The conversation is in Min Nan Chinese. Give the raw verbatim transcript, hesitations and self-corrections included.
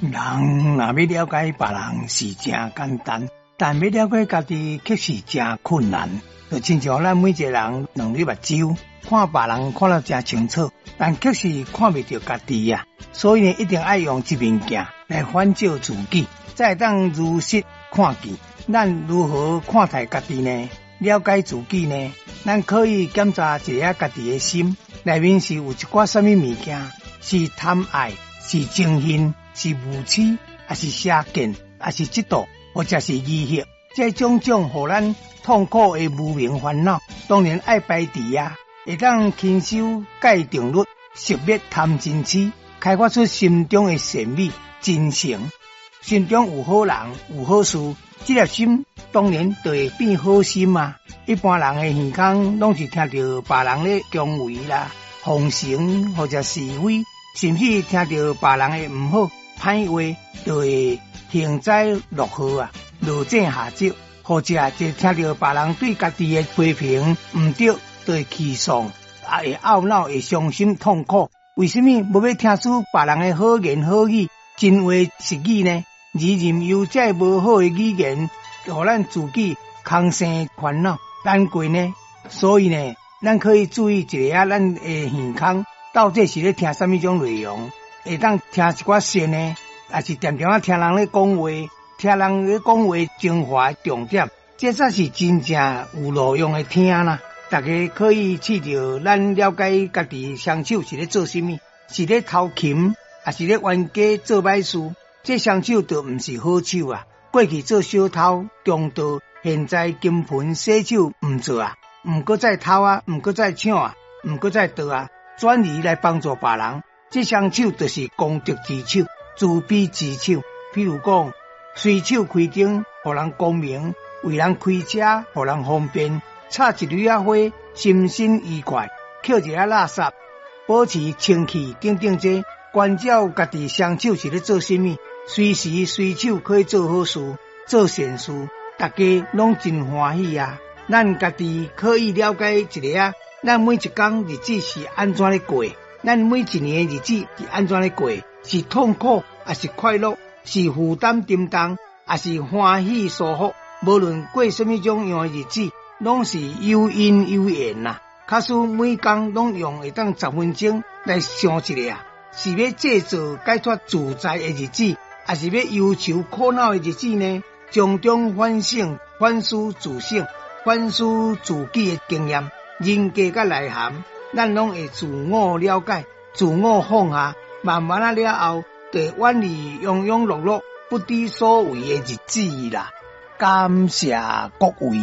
人若欲了解別人是誠簡單，但欲了解家己卻是誠困難。就親像咱每一個人兩對目睭看別人看得誠清楚，但卻是看袂著家己啊。所以呢，一定愛用一面鏡來反照自己，才會當如實看見。咱如何看待家己呢？了解自己呢？咱可以檢查一下家己的心，內面是有一寡啥物物件，是貪愛，是憎恨，是愚癡，抑是邪見，抑是嫉妒，或者是疑惑，這種種予咱痛苦的無明煩惱，當然愛排除啊！會當勤修戒定律，熄滅貪嗔癡，開發出心中的善美真誠。心中有好人，有好事，這粒心當然就會變好心啊！一般人的耳空攏是聽著別人咧恭維啦、奉承或者是非，甚至聽著別人的毋好、歹話，就會幸災樂禍啊，落井下石，或者就聽著別人對家己的批評毋對，就會氣喪，啊會懊惱，會傷心痛苦。為啥物無欲聽取別人的好言好語、真話實語呢？而任由這無好的語言，予咱自己空生煩惱難過呢？所以呢，咱可以注意一下咱的耳空到底是咧聽啥物種內容，會當聽一寡善的，抑是定定仔聽人咧講話，聽人咧講話精華重點，這才是真正有路用的聽啦。大家可以試著咱了解家己雙手是咧做啥物，是咧偷禽，抑是咧冤家做歹事？這雙手就毋是好手啊！過去做小偷、強盜，現在金盆洗手毋做啊，毋閣再偷啊，毋閣再搶啊，毋閣再盜啊，轉移來幫助別人。這雙手就是功德之手、慈悲之手。譬如講，隨手開燈，予人光明；為人開車，予人方便；插一縷仔花，心身愉快；抾一下垃圾，保持清氣等等，這關照家己雙手是咧做啥物？隨時隨手可以做好事、做善事，大家攏真歡喜啊！咱家己可以了解一下，咱每一工日子是按怎咧過？咱每一年的日子是按怎咧過？是痛苦抑是快樂？是負擔沉重，抑是歡喜舒服？無論過啥物種樣的日子，攏是有因有緣啦。假使每工攏用會當十分鐘來想一下，是欲製造解脫自在的日子，抑是欲憂愁苦惱的日子呢？從中反省、反思自省、反思自己的經驗、人格佮內涵，咱攏會自我了解、自我放下，慢慢仔了後，就會遠離庸庸碌碌、不知所為的日子啦。感謝各位。